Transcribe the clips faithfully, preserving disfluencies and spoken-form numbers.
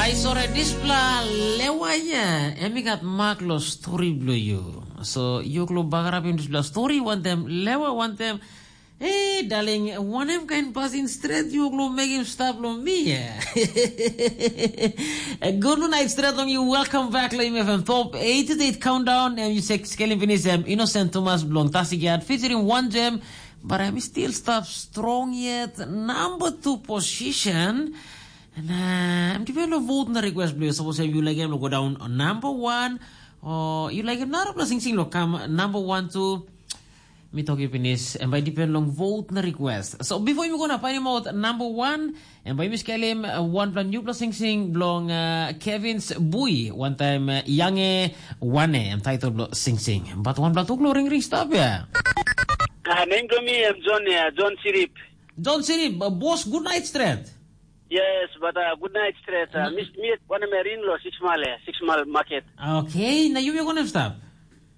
Ai sore, dispela lewa ya, em i gat mak lo stori bilong yu. So yu klo bagarapim dispela stori wantem lewa wantem. Hey, darling, wanem kain pasin stret yu klo mekim stap lo mi ya? Good night stret long you. Welcome back lo M F M Top eighty-eight Countdown. And you check scaling finish em Innocent Thomas belong Tasigiat featuring One Gem. But I'm still stop strong yet. Number two position. Na em depend long vote na request bilong yu. Sapos em yu laik em long go down on number one, o yu laik em narapela singsing long kam number one tu, mi tok yu pinis, em bai depend long vote na request. So before yumi go na painim out number one, em bai yumi skelim uh, wanpela newpela singsing bilong uh, Kevin's Bui, wantaim uh, Yange Wane, em title bilong singsing. But wanpela tu klo ringring stap ya. Ah, nem bilong mi em John ya, John Sirip. John Sirip, uh, boss, good night stret. Yes, but uh, good night straight. Uh, mi mi wanem rin lo six mile, eh, six mile market. Okay, na yumi wanem stap?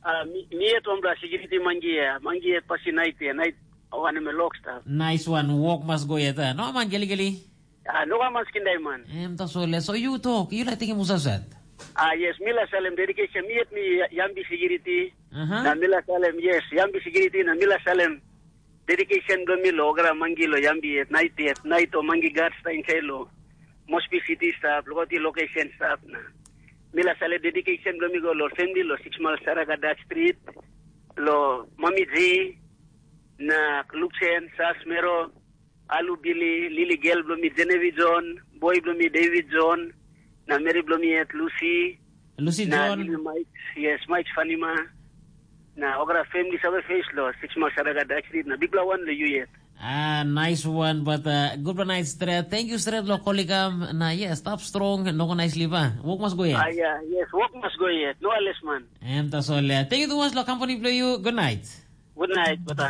Uh, mi mi et ombra security mangi, eh, mangi et pasi night, eh, night wanem lok stap. Nice one, walk mas go yet. Eh? No man geli geli. Ah, no man skin dai man. Em tasol, so you talk, you like taking musa set. Ah, yes, mi la salem dedication, mi et mi yambi security. Aha. Na mi la salem, yes, yambi security na mi la salem dedication bilong mi lo ogra mangi lo yambi et nait et nait o mangi gat stain kai lo Mosbi City stap, lo ti location stap na. Mi la sale dedication bilong mi go lo family lo six mal Saraga Dutch Street, lo Mami G, na Luxen, Sas Mero, Alu Billy, Lily Gel bilong mi Genevieve John, boy bilong mi David John, na meri bilong mi et Lucy, Lucy na John. Lily Mike, yes, Mike Fanima, na ogra family save face lo six months ada ga daksrit na bikpela wan lo yu yet. Ah, nice one, but uh, good one night stret. Thank you stret lo kolikam. Na yes, stop strong, no go nice liver. Work must go yet. Ah, yeah, yes, work must go yet. No ales man. Em tasol ya. Thank you too much lo company play you. Good night. Good night, bata.